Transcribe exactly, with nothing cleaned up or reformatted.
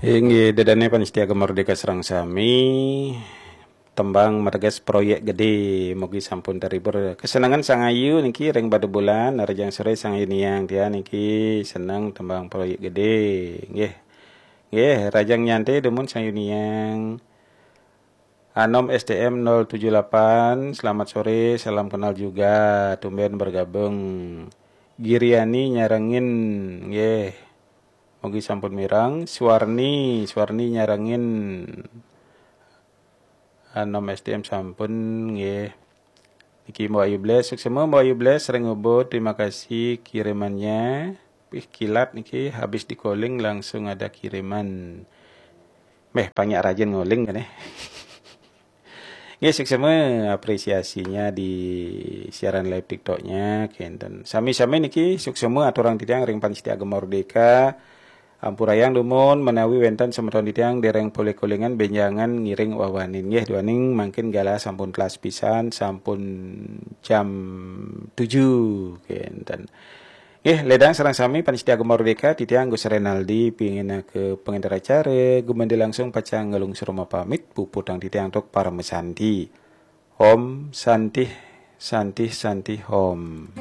Inggih, ida dané pamiarsa Gema Merdeka sareng sami. Tembang mateges proyek gedé, mugi sampun terhibur. Kesenengan sang ayu niki ring bada bulan, rahajeng soré sang ayu Niang, tiang niki seneng tembang proyek gedé. Nggih. Nggih, rahajeng nyanté dumun sang ayu Niang. Anom S T M nol tujuh delapan, selamat sore, salam kenal juga, tumben bergabung. Giriani nyarengin, nggih. Mugi sampun mireng. Suwarni, Suwarni nyarengin. Anom S T M sampun, nggih. Niki Mbok Ayu Bles, suksma Mbok Ayu Bles, ring Ubud, terima kasih kirimannya. Wih, kilat niki, habis di-calling langsung ada kiriman. Méh, banyak rajin ngoling kan, eh? Nggih, suksma apresiasinya di siaran live TikToknya, kénten. Sami-sami niki suksma aturang titiang ring pamiarsa Gema Merdeka. Ampurayang dumun menawi wénten semeton titiang dereng polih kolingan bénjangan ngiring wawanin. Nggih, duaning mangkin galah sampun telas pisan, sampun jam tujuh, kénten. Nggih, ledang sareng sami pamiarsa Gema Merdeka, titiang Gus Renaldi, pingin ke pengenter acara, gumanti langsung pacang ngalungsur pamit, puputang titiang antuk paramasanti. Om Santih, Santih, Santih, Om.